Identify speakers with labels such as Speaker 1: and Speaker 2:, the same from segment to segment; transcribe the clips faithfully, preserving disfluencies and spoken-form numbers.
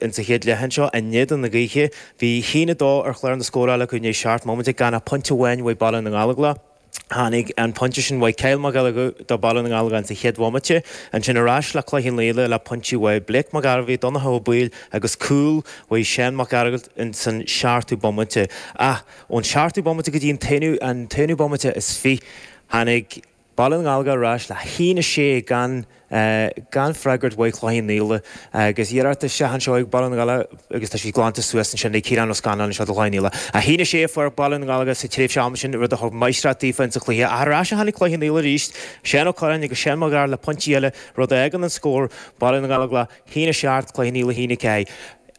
Speaker 1: Insa chéad leath anseo, in éadan na gaoithe, bhí haon a dó ar chlár na scórála acu i ndiaidh seacht mbomaite gan ach pointe amháin uaidh Baile na nGallóglach. Tháinig an pointe sin uaidh Kyle Mac Giolla Dhuibh do Baile na nGallóglach insa chéad bhomaite. Ansin ar ais le Cloich Cheann Fhaola le pointí uaidh Blake Mac Gairbhí, Donncha Ó Baoill agus cúl uaidh Seán Mac Gearailt insan seachtú bomaite. Ach ón seachtú bomaite go dtí an t-aonú bomaite is fiche, tháinig Baile na nGallóglach ar ais le haon a sé gan gan freagairt uaidh Cloich Cheann Fhaola agus iarracht isteach anseo ag Baile na nGallóglach agus tá sí glanta suas ansin ag Ciarán Ó Scanláin anseo do Chloich Cheann Fhaola. A haon a sé a fuair Baile na nGallóglach sa tréimhse ama sin, rud a thug máistreacht daofa insa chluiche. Ach ar ais a tháinig Cloich Cheann Fhaola arís, Seán Ó Curráin agus Seán Mac Gearailt le pointí eile, rud a fhágann an scór, Baile na nGallóglach haon a seacht, Cloich Cheann Fhaola haon a ceathair.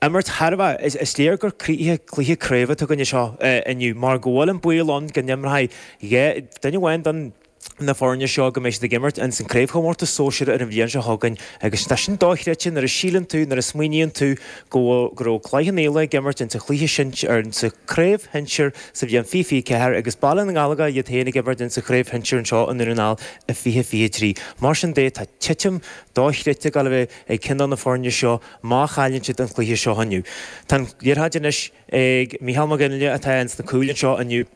Speaker 1: Imirt thar a bheith, is léir gur cluiche craoibhe atá againn anseo inniu mar go bhfuil an baol ann go n-imreoidh dhá duine amháin den na foirne seo go mbeidh siad ag imirt ins an craobhchomórtas sóisir ar an bhliain seo chugainn agus tá sin dochreidte nuair a síleann tú, nuair a smaoiníonn tú go go raibh Cloich Cheann Fhaola ag imirt ins an chluiche sinsir, ar ins an chraobh shinsir sa bhliain fiche fiche ceathair agus Baile na nGallóglach iad féin ag imirt ins an chraobh shinsir anseo i nDún na nGall i fiche fiche trí. Mar sin de tá titim dochreidte ag dul a bheith ag ceann de na foirne seo má chailleann siad an cluiche seo inniu. Tá an liathróid anois ag Mícheál Mac Fhionnghaile atá ins na cúil anseo inniu.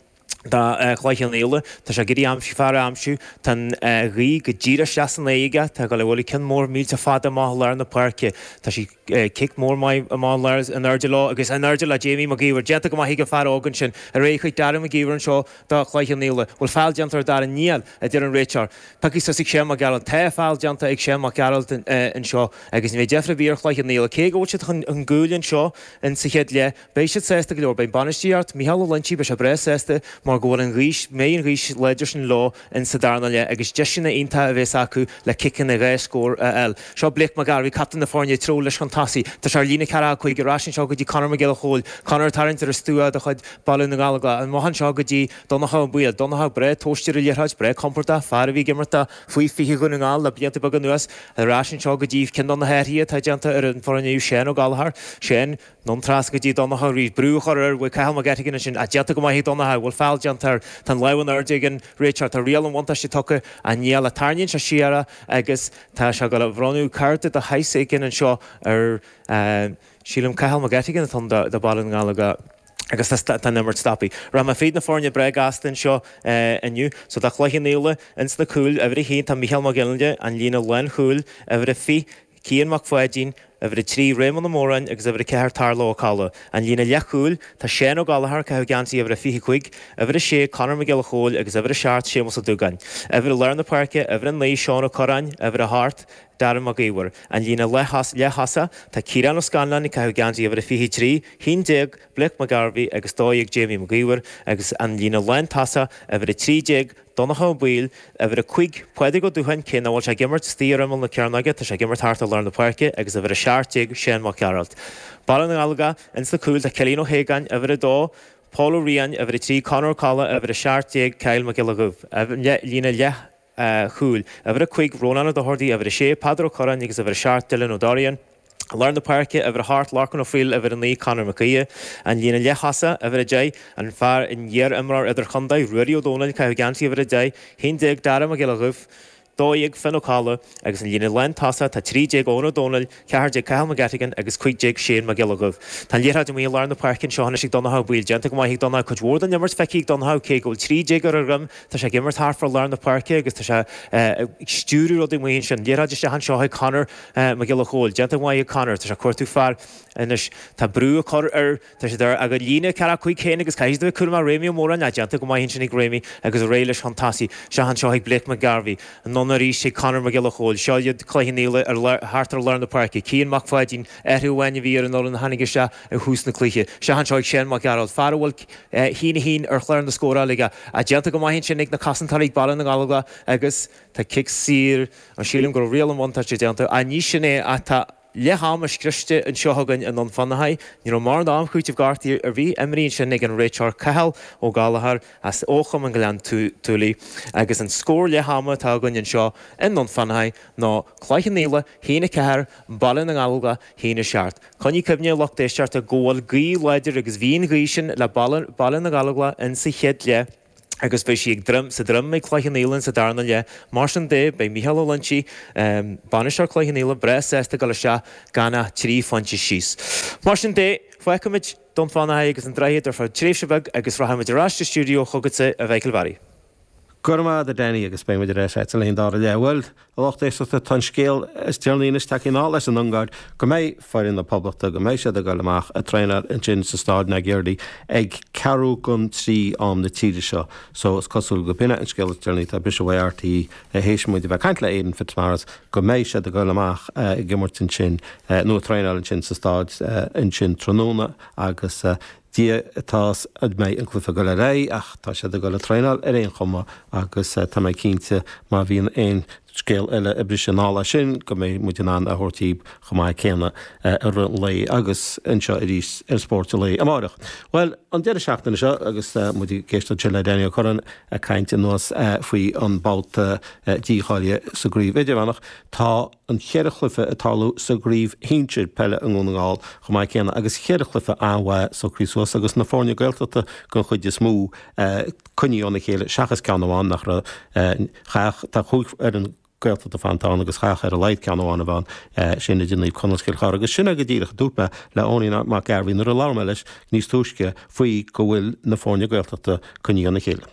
Speaker 1: do Chloich Cheann Fhaola. Tá sé ag iarraidh aimsiú, fear a aimsiú. Tá an ghaoth go díreach isteach san aghaidh aige. Tá ag dul a bhualadh ceann mór millteach fada amach i lár na páirce. Tá sí cic mór maith amach i lár in airde leo agus in airde le Jamie Mac Íomhair. Déanta go maith ag an fear óg ansin. Ar aghaidh chuig Darren Mac Íomhair anseo do Chloich Cheann Fhaola. Bhfuil feall déanta ar Darren? Níl, a deir an réiteoir. Pioctha suas ag Seán Mac Gearailt. Tá feall déanta ag Seán Mac Gearailt anseo agus ní bheidh deifir ar bith ar Chloich Cheann Fhaola. Cé go bhfuil siad chun cúil anseo in sa chéad leath, Beidh siad sásta go leor. Beidh bainistíocht Micheál Ó Loinsigh, beidh sé breá sásta mar go bhfuil an ghaoth, mbeidh an ghaoth láidir sin leo in sa darna leath agus deiseanna iontacha a bheas acu le ciceanna dhá scór a fháil. Seo Blake McGarvey, captaen na foirne, ag treabhadh leis chun tosaigh. Tá sé ar líne ceathracha cúig ar ais anseo go dtí Conor Mac Giolla Chóill. Conor ag tarraingt ar an stua de chuid Baile na nGallóglach. Amach anseo go dtí Donncha Ó Baoill. Donncha breá tomhaiste ar an liathróid, breá compordach, fear a bhí ag imirt do faoi fiche Dhún na nGall le blianta beaga anuas. Ar ais anseo go dtí ceann de na hathruithe atá déanta ar an bhfoireann inniu, Seán Ó Gallchóir. Seán. Anonn trasna go dtí Donncha arís. Brú a chur air. Bhfuil Cathal McGettigan ansin? Ach déanta go maith ag Donncha. Bhfuil feall déanta air? Tá an lámh in airde ag an réiteoir. Tá riail an bhuntáiste tugtha. Ach níl. Ach tarraingíonn sé siar é agus tá sé ag dul a bhronnadh cárta de shaghas éigin anseo ar, sílim, Cathal McGettigan atá ann do Bhaile na nGallóglach agus tá an imirt stoptha. Rachaidh mé fríd na foirne breá gasta anseo inniu. So tá Cloich Cheann Fhaola ins na cúil. Uimhir a haon tá Mícheál Mac Fhionnghaile, an líne lánchúil. Uimhir a fiche, Cian Mac Pháidín, uimhir a trí, Réamonn Ó Móráin agus uimhir a ceathair, Tarlach Ó Colla. An líne leathchúil, tá Seán Ó Gallchóir ag caitheamh geansaí uimhir a fiche cúig, uimhir a sé, Conor Mac Giolla Chóill agus uimhir a seacht, Séamus Ó Dúgáin. Uimhir i lár na páirce, uimhir a naoi, Seán Ó Curráin, uimhir a hocht, Darren Mac Íomhair. An líne leath-thosaigh, tá Ciarán Ó Scanláin ag caitheamh geansaí uimhir a fiche trí, haon déag, Blake McGarvey agus dó dhéag, Jamie Mac Íomhair agus an líne lántosach, uimhir a trí déag, Donncha Ó Baoill, uimhir a cúig, Pádraig Ó Dúcháin, cé nach bhfuil sé ag imirt istigh ar imeall na cearnóige, tá sé ag imirt thart i lár na páirce, agus uimhir a seacht déag, Seán Mac Gearailt. Baile na nGallóglach, ins na cúil, tá Cillian Ó hAogáin, uimhir a dó, Pól Ó Riain, uimhir a trí, Conor Ó Colla, uimhir a seacht déag, Kyle Mac Giolla Dhuibh. Líne leath-chúil, uimhir a cúig, Rónán Ó Dochartaigh, uimhir a sé, Peadar Ó Curráin agus uimhir a seacht, Dylan Ó Dorrian. I lár na páirce, uimhir a hocht, Lorcan Ó Foighil, uimhir a naoi, Conor Mac Aoidh. An líne leath-thosaigh, uimhir a deich, an fear an iar-imreoir idirchontae, Ruairí Ó Domhnaill, caitheamh geansaí uimhir a deich, haon déag, Dara Mac Giolla Dhuibh, dó dhéag, Finn Ó Colla, agus an líne lántosach, tá trí déag, Eoin Ó Domhnaill, ceathair déag, Cathal McGettigan agus cúig déag, Shane Mac Giolla Dhuibh. Tá an liathróid amuigh i lár na páirce anseo anois ag Donncha Ó Baoill. Déanta go maith ag Donncha. Cuid mhór den imirt feicthe ag Donncha, cé go bhfuil trí déag ar a dhroim, tá sé ag imirt thart fá lár na páirce agus tá sé ag stiúradh rudaí amuigh ansin. Liathróid isteach anseo ag Conor Mac Giolla Chóill. Déanta go maith ag Conor. Tá sé ag cuartú fear anois. Tá brú á chur air. Tá siad ar a gcuid líne ceathracha cúig féin agus caithfidh siad a bheith cúramach. Réamaí Ó Móráin. Déanta go maith ansin ag Réamaí agus ar aghaidh leis chun tosaigh. Isteach anseo ag Blake McGarvey. Anonn arís ag Conor Mac Giolla Chóill. Seo iad Cloich Cheann Fhaola ar thart ar lár na páirce. Cian Mac Pháidín. Athrú amháin a bhí ar an fhoireann a tháinig isteach ag thús na cluiche. Isteach anseo ag Seán Mac Gearailt. Fear a bhfuil haon a haon ar chlár na scórála aige. Déanta go maith ansin ag na cosantóirí ag Baile na nGallóglach agus tá cic saor. An sílim go raibh riail an bhuntáiste déanta? Ach ní sin é ach tá leath ama scriosta anseo againn i nDún Fionnachaidh. Ní raibh mórán am chúitimh gortaithe ar bith imrithe ansin ag an réiteoir Cathal Ó Gallchóir as ó Chumann Ghleann tSúilí agus an scór leath ama atá againn anseo i nDún Fionnachaidh ná Cloich Cheann Fhaola haon a ceathair, Baile na nGallóglach haon a seacht. Coinnigh cuimhne a lucht éisteachta go bhfuil gaoth láidir agus bhí an ghaoth sin le Baile na nGallóglach insa chéad leath. agus beidh sí ag droim sa droim ag Cloich Cheann Fhaola sa darna leath. Mar sin de, beidh Micheál Ó Loinsigh, bainisteoir Chloich Cheann Fhaola, breá sásta dul isteach gan ach trí phointe síos. Mar sin de, fágfaimid Dún Fionnachaidh agus an Droichead ar feadh tréimhse bheag agus rachaimid ar ais sa stiúideo chugatsa, a Mhichíl Bharry.
Speaker 2: Go raibh maith agat, a Danny, agus beidh muid ar ais agat le haghaidh an dara leath. Bhuel, a lucht éisteachta, tá an scéal is deireanaí anois tagtha anall as an Ungáir go mbeidh foireann na Poblachta, go mbeidh siad ag dul amach ag traenáil ansin sa Staid Nagy Érdi ag ceathrú don trí am na tíre seo. So is cosúil go b'in é an scéal is deireanaí atá briseadh uaidh RTÉ théis muid a bheith ag caint le Aidan Fitzmaurice go mbeidh siad ag dul amach ag imirt ansin nó ag traenáil ansin sa staid ansin tráthnóna agus Dia atá 'fhios an mbeidh an cluiche ag dul ar aghaidh ach tá siad ag dul ag traenáil ar aon chuma agus tá mé cinnte má bhíonn aon scéal eile ag briseadh anall as sin go mbeidh muid in ann a thabhairt daoibh chomh maith céanna i rith an lae agus anseo arís ar Spórt an Lae amárach. Bhuel, an deireadh seachtaine seo agus muid ag éisteacht ansin le Danny Ó Curráin ag caint anuas faoi an babhta dícháilithe sa gcraobh idirmheánach, tá an cheithre chluiche ag tarlú sa gcraobh shinsir peile i nDún na nGall chomh maith céanna agus cheithre chluiche an-mhaith socraithe suas agus na foirne Gaeltachta den chuid is mó coinnithe óna chéile seachas ceann amháin nach raibh chaithfeadh tá cúig fhoireann Gaeltachta fanta ann agus chaithfeadh ar a laghad ceann amháin a bheith ann sin idir Naomh Conaill is Cill Chartha agus sin é go díreach a dúirt mé le Owenie Mac Gairbhí nuair a labhair mé leis níos túisce faoi go bhfuil na foirne Gaeltachta coinnithe óna chéile.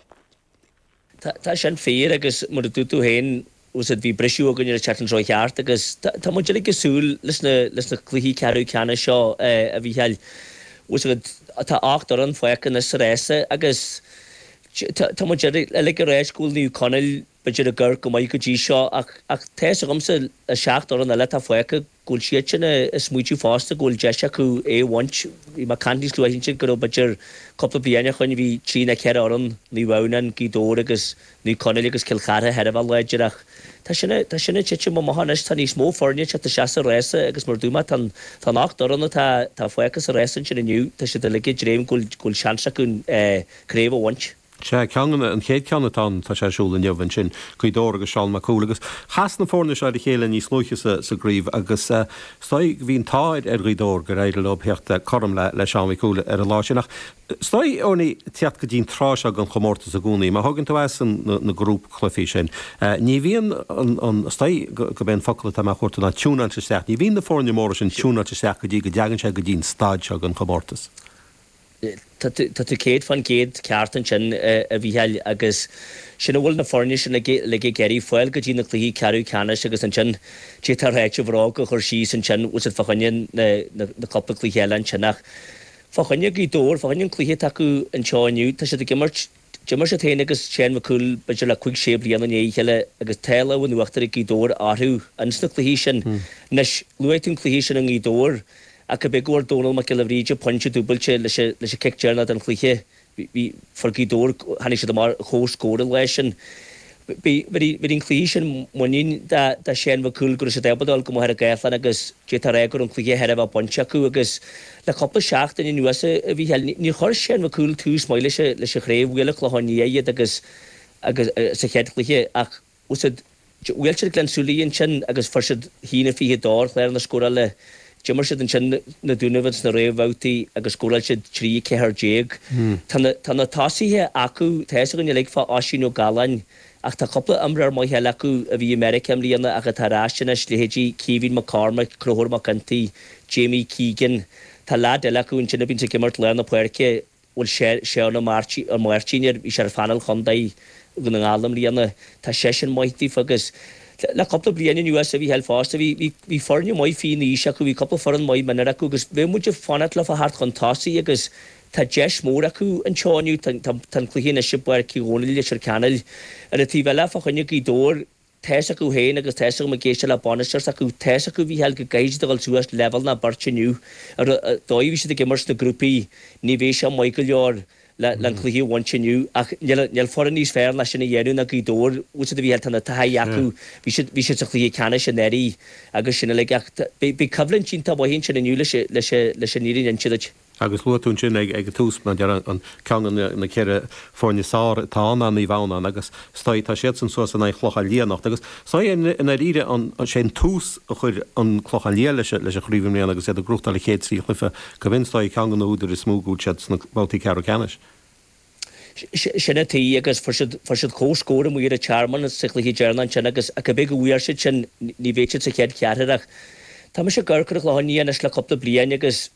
Speaker 3: Tá sin fíor agus mar a dúirt tú féin, úsáid, bhí briseadh againn ar an tseachtain seo thart agus tá muid uilig ag súil leis na leis na cluichí ceathrú ceannais seo a Mhícheáil. Úsáid, tá ocht bhfoireann fágtha anois sa rása agus tá muid uilig ag ráit go bhfuil Naomh Conaill b'fhéidir ag amharc go maith go dtí seo ach ach tá fhios agamsa na seacht bhfoireann eile atá fágtha go bhfuil siadsan ag smaoitiú fosta go bhfuil deis acu é a bhaint. Bhí mé ag caint níos luaithe ansin go raibh b'fhéidir cúpla bliain ó shoin bhí trí nó ceithre fhoireann, Naomh Adhamhnáin, Gaoth Dobhair agus Naomh Conaill agus Cill Chartha thar a bheith láidir ach tá sin tá sin ag titim amach anois. Tá níos mó foirne ag teacht isteach sa rása agus mar a dúirt mé tá an tá an ocht bhfoireann atá atá fágtha sa rása ansin inniu tá siad uilig ag dréim go bhfuil go bhfuil seans acu craobh a bhaint.
Speaker 2: Sea, ceann de na, an chéad cheann atá ann, tá sé ar siúl inniu ansin, Gaoth Dobhair agus Seán Mac Cumhaill agus chas na foirne seo ar a chéile níos luaithe sa, sa gcraobh agus is dóigh bhí an t-ádh ar Ghaoth Dobhair gur éirigh leo theacht cothrom le, le Seán Mhic Cumhaill ar an lá sin ach is dóigh, Owenie, teacht go dtí an tráth seo den chomórtas i gcónaí, má thógann tú as an, na, na grúpchluichí sin, ní bhíonn an, an, is dóigh go, go b'é an focal atá mé a chuartú ná tiúnáilte isteach, ní bhíonn na foirne móra sin tiúnáilte isteach go dtí go dtagann sé go dtí an staid seo den chomórtas.
Speaker 3: Tá tú céad fán gcéad ceart ansin, a Mhícheáil, agus sin a bhfuil na foirne sin uilig ag iarraidh, fáil go dtí na cluichí ceathrú ceannais agus ansin d'fhéadfá a ráit an bhróg a chur síos ansin, bhfuil siad fá choinne na cúpla cluiche eile ansin ach fá choinne Gaoth Dobhair, fá choinne an cluiche atá acu anseo inniu, tá siad ag imirt, d'imir siad féin agus Seán Mac Cumhaill b'fhéidir le cúig sé bliana i ndiaidh a chéile agus tá lámh in uachtar ag Gaoth Dobhair orthu ins na cluichí sin. Anois, luaigh tú an cluiche sin i nGaoth Dobhair, Ach go b'é go bhfuair Dónal Mac Giolla Bhríde pointe dúbailte leis an cic deireanach den chluiche, bhí, fuair Gaoth Dobhair, tháinig siad amach ar comhscór an lá sin. Bhí, bhí an cluiche sin muinín do Sheán Mac Cumhaill go raibh siad ábalta dul go Machaire Gathlán agus d'fhéadfá a rá go raibh an cluiche thar a bheith bainte acu agus le cúpla seachtain anuas a Mhícheáil, níor chuir Seán Mac Cumhaill tús maith leis leis an chraobh, bhuail an Clochán Liath iad agus agus sa chéad chluiche ach úsáid. Bhuail siad Gleann tSúilí ansin agus fuair siad a haon a fiche a dó ar chlár na scórála. D'imir siad ansin na Dúnaibh ins na réamhbhabhtaí agus scóráil siad trí a ceathair déag. Tá na tá na tosaithe acu, tá fhios againn uilig fá Oisín Ó Galláin ach tá cúpla imreoir maith eile acu a bhí i Meiriceá i mbliana ach atá ar ais anois, leithéidí Caoimhín McCormack, Conchúr Mac Ginty, Jamie Keegan. Tá leaid eile acu ansin a bhíonns ag imirt lár na páirce, bhfuil Seán Ó Máirtín air, bhí sé ar phainéal chontae Dhún na nGall i mbliana, tá seisean maith daofa agus le cúpla bliain anuas a Mhícheáil fosta, bhí bhí foirne maith faoin aois acu, bhí cúpla foireann maith mionúir acu agus bheadh muid ag fanacht leofa theacht chun tosaigh agus tá deis mhór acu anseo inniu, tá tá an cluiche anois i bPáirc Uí Dhónaill i Leitir Ceanainn. Ar an taobh eile fá choinne Gaoth Dobhair, Tá fhios acu féin agus tá fhios agam ag éisteacht le bainisteoir s'acu, tá fhios acu, a Mhícheáil, go gcaithfidh siad a dhul suas leibhéal nó beirt inniu. Ar an dóigh a bhí siad ag imirt sna grúpaí, ní bheidh sé maith go leor le an cluiche a bhaint inniu ach níl níl foireann níos fearr ná sin a dhéanamh ná Gaoth Dobhair. Bhfuil siad, a Mhícheáil, tá na taithí acu, bhí siad bhí siad sa chluiche ceannais anuraidh agus sin uilig ach beidh beidh coimhlint iontach mhaith ansin inniu leis leis leis an fhírinne a inse duit.
Speaker 2: Agus luaigh tú ansin ag an tús, mar a déarfá, an ceann de na ceithre foirne is fearr atá ann ná Naomh Adhamhnáin agus is dóigh tá siadsan suas in aghaidh Chlochán Liath anocht agus is dóigh i ndáiríre an sé an tús a chuir an Clochán Liath leis leis an chraobh i mbliana agus iad ag gnóthachtáil an chéad trí chluiche go b'in is dóigh ceann de na húdair is mó go bhfuil siad sna babhtaí ceathrú ceannais.
Speaker 3: Sin é í agus fuair siad fuair siad comhscór amuigh ar an Tearmann sa chluiche deireanach ansin agus cibé go bhfuair siad sin ní bheidh siad sa chéad cheathrar ach tá mise ag amharc ar an Chlochán Liath anois le cúpla bliain agus